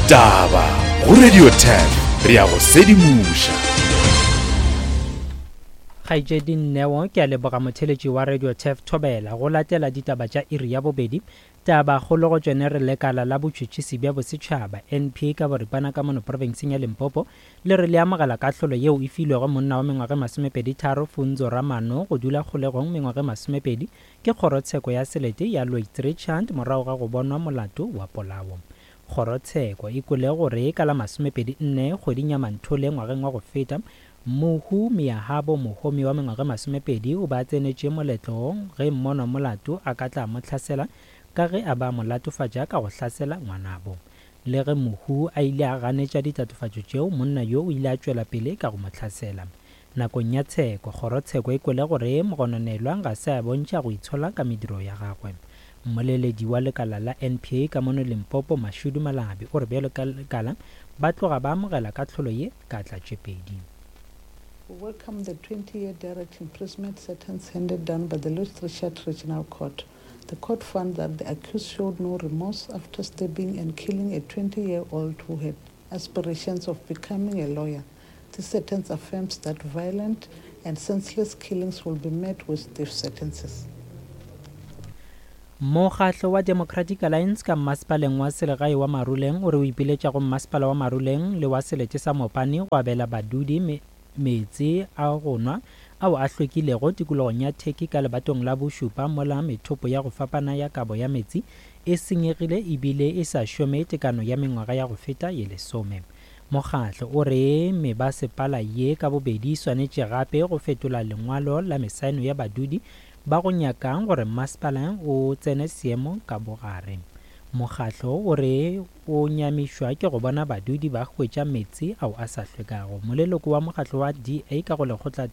Ditaba go Radio 10 re a go sedimoša. Kgaetšedi Neo, ke a leboga motheletši wa Radio Turf Thobela go latela ditaba tša iri ya bobedi. Taba kgolo go tšone re lekala la botšhotšhisi bja bosetšhaba, NPA, ka boripana ka mono profenseng ya Limpopo le re le amogela kahlolo yeo e filwego monna wa mengwaga e masomepedi-tharo Funzo Ramano go dula kgolegong mengwaga e masomepedi ke kgorotsheko ya selete ya Loitz-Richard morago ga go bonwa molato wa polao. Kgorotsheko e kwele gore ka la masomepedi nne kgweding ya Manthole ngwageng wa go feta, mohu Miyahabo Mohomi wa mengwaga e masomepedi o be a tsenetše moletlo ge mmonwa molato a ka tla mo hlasela ka ge a be a mo latofatša ka go hlasela ngwanabo. Le ge mohu a ile a ganetša ditatofatšo tšeo, monna yo o ile a tšwela pele ka go mo hlasela. Nakong ya tsheko, kgorotsheko e kwele gore mogononelwa ga se a bontšha go itshola ka mediro ya gagwe. Mmoleledi wa lekala la NPA ka mono Limpopo, Mashudu Malabi, o re bjalo ka lekala ba tloga ba amogela kahlolo ye ka tla tše pedi. We welcome the 20-year direct imprisonment sentence handed down by the Louis Trichardt Regional Court. The court found that the accused showed no remorse after stabbing and killing a 20-year-old who had aspirations of becoming a lawyer. This sentence affirms that violent and senseless killings will be met with stiff sentences. Mokgatlo wa Democratic Alliance ka mmasepaleng wa selegae wa Maruleng o re o ipiletša go mmasepala wa Maruleng le wa selete sa Mopani go abela badudi meetse a go nwa ao a hlwekilego tikologong ya Turkey ka lebatong la bošupa mola methopo ya go fapana ya kabo ya meetse e senyegile ebile e sa šome tekano ya mengwaga ya go feta ye lesome. Mokgatlo o re mebasepala ye ka bobedi e swanetše gape go fetola lengwalo la mesaeno ya badudi ba go nyakang gore mmasepala o tsene seemo ka bogare. Mokgatlo o re o nyamišwa ke go bona badudi ba hwetša meetse ao a sa hlwekago. Moleloko wa mokgatlo wa DA ka go lekgotla.